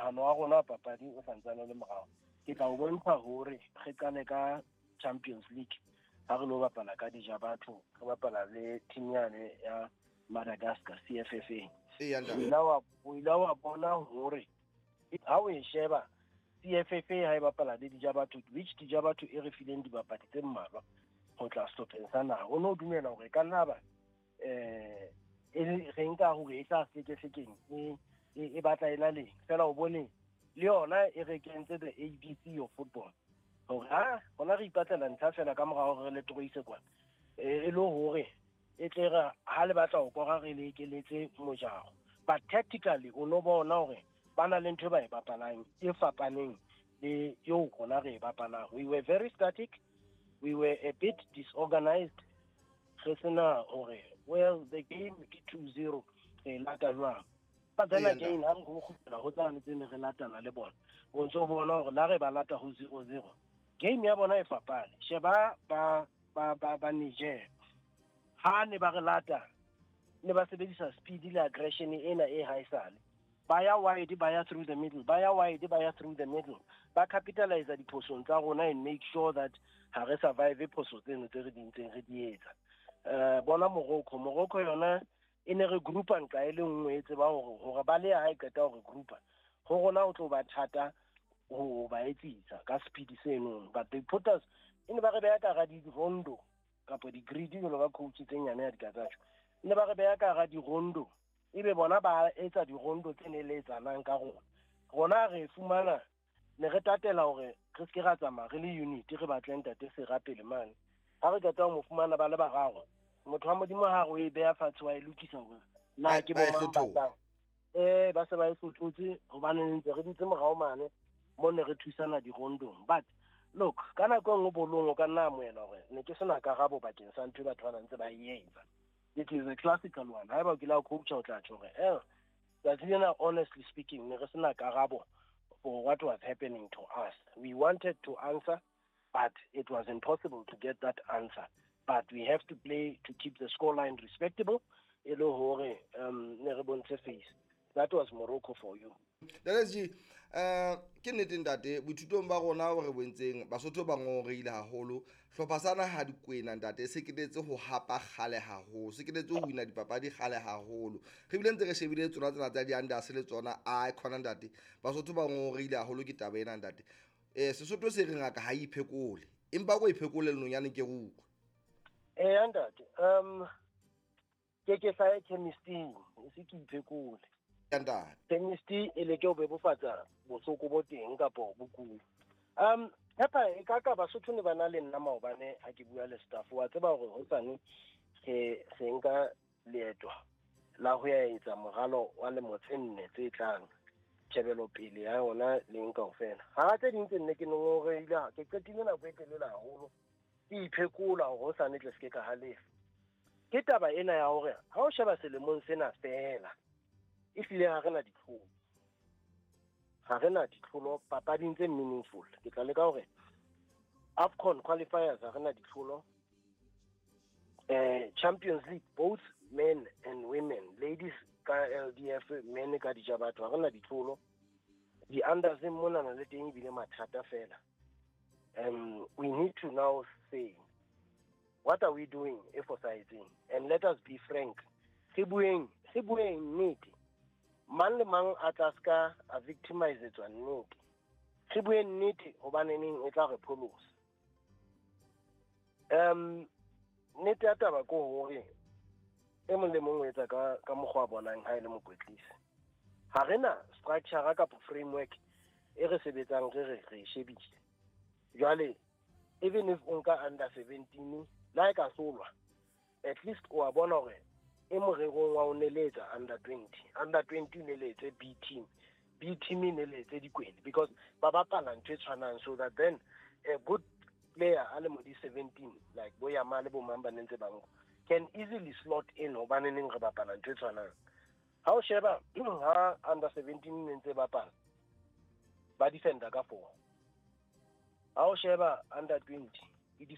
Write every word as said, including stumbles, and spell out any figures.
Monahano wa rona wa papadi o santsane o le morao. Ke tla o bontsha hore re qale ka Champions League ha re lo bapala ka dija batho, re bapala le team yane ya Madagascar C F F A. Eya, ntate. O ile wa, o ile wa bona hore ha o e sheba C F F A ha e bapala le dija batho, which dija batho e re fileng dibapadi tse mmalwa ho tla sehlopheng sa naha. O no dumela hore ka nna ba, eh, e re nka hore e tla hlekehlekeng, e, e, e batla e na leng. Feela o bone le yona e re kentse the A B C of football. Hore ha rona re ipatlela ntlha feela ka mora hore re le toroise kwana. E, e le hore e tle re ha le batla ho kora re le ekeletse mojaro. But tactically o no bona hore ba na le ntho e ba e bapalang e fapaneng le eo rona re e bapalang. We were very static. We were a bit disorganized. Re sena hore, well, the game ke two zero, re lata jwang. But then Ee, again, ha re go kgutlela ho tsane tse ne re latana le bona. O ntso bona hore la re ba lata ho zero zero. Game ya bona e fapane. Sheba ba, ba, ba, ba Niger. Ha ne ba re lata, ne ba sebedisa speed le aggression ena e haesale. Ba ya wide, ba ya through the middle, ba ya wide, ba ya through the middle. Ba capitalize diphosong tsa rona and make sure that ha re survive phoso tseno tse re di ntseng re di etsa. Eh, bona Morocco, Morocco yona e ne re groupa nqa e le nngwe e tseba hore, hore ba le ha e qeta hore groupa. Ho rona ho tlo ba thata ho ba etsisa ka speed seno. But they put us, e ne ba re beha ka hara di-rondo kapa di-grid jwalo ka coach tse nyane ya dikatsajo. E ne ba re beha ka hara di-rondo, ebe bona ba etsa di-rondo tse neletsanang ka rona. Rona re fumana, ne re tatela hore re se ke ra tsamaya re le unit, re batle ntate Sera pele mane. Ha re qeta ho mo fumana ba le bararo, motho wa Modimo ha re o e beha fatshe wa e lokisa hore na Ba- ke ba e bo mang ba hlothola. tlang. Eh, ba se ba e hlothotse hobane ntse re dutse morao mane mo ne re thusana dirondong. But look, ka nako e nngwe bolong o ka nna amohela hore ne ke sena karabo bakeng sa ntho e batho ba ntse ba e etsa. It is a classical one. Haeba o kile wa coacha o tla tjho hore, eh, tsatsi lena, honestly speaking, ne re sena karabo for what was happening to us. We wanted to answer, but it was impossible to get that answer. But we have to play to keep the scoreline respectable. E le hore, um, ne re bontshe face. That was Morocco for you. Ntate S G, eh, ke nnete ntate, boithutong ba rona bo re bontseng, Basotho ba ngongoreile haholo. Hlopha sa naha Dikwena ntate, se ketetse ho hapa kgale haholo, se ketetse ho wina dipapadi kgale haholo. Re bile ntse re shebile tsona tsena tsa di-unders le tsona, a khona ntate. Basotho ba ngongoreile haholo ke taba ena ntate. Eh, Sesotho se re ngaka ha e iphekole, empa ko iphekole lenonyane ke re utlwe. Eh, ntate, um, ke ke sa ye chemist-ing, e se ke iphekole. Ntate. Chemist e leke ho bebofatsa bohloko bo teng kapo bokudi. Um, Pepper, e ka ka Basotho ne ba na le nna maobane ha ke bua le staff. Wa tseba hore hosane re, re nka leeto la ho ya etsa moralo wa lemo tse nne tse tlang, tjhebelopele ya yona le eng kaofela. Hara tse ding tse nne ke ngongoreile, ke qetile nako e telele haholo ke iphekola hore hosane tle se ke ka halefa. Ke taba ena ya hore ha o sheba selemong sena feela, ehlile ha re na ditlholo. Ha re na ditlholo papading tse meaningful. Ke tla leka hore AFCON qualifiers ha re na ditlholo. Eh, Champions League, both men and women, ladies ka L D F, men ka dijabatho, ha re na ditlholo. Di-unders mona na le teng ebile mathata feela. Um, we need to now say, what are we doing e fosahetseng? And let us be frank. Re bueng, re bueng nnete. Mang le mang a tla ska a victimizetswa nnete. Re bueng nnete hobane neng e tla re pholosa. Um, nnete ya taba ke hore e mong le mong o etsa ka, ka mokgwa a bonang ha e le mokwetlisi. Ha re na structure kapa framework e re sebetsang re re re e shebile. Jwale, even if o nka under seventeen, le ha e ka hlolwa, at least o a bona hore e morerong wa ho neletsa under twenty. Under twenty o neletse B team. B team e neletse Dikwena because ba bapala ntho e tshwanang, so that then a good player a le mo di seventeen, like bo Yamal le bo mang ba ne ntse ba nka, can easily slot in hobane neng re bapala ntho e tshwanang. Ha o sheba, ha under seventeen ne ntse bapala, ba defender ka four. Ha o sheba under twenty,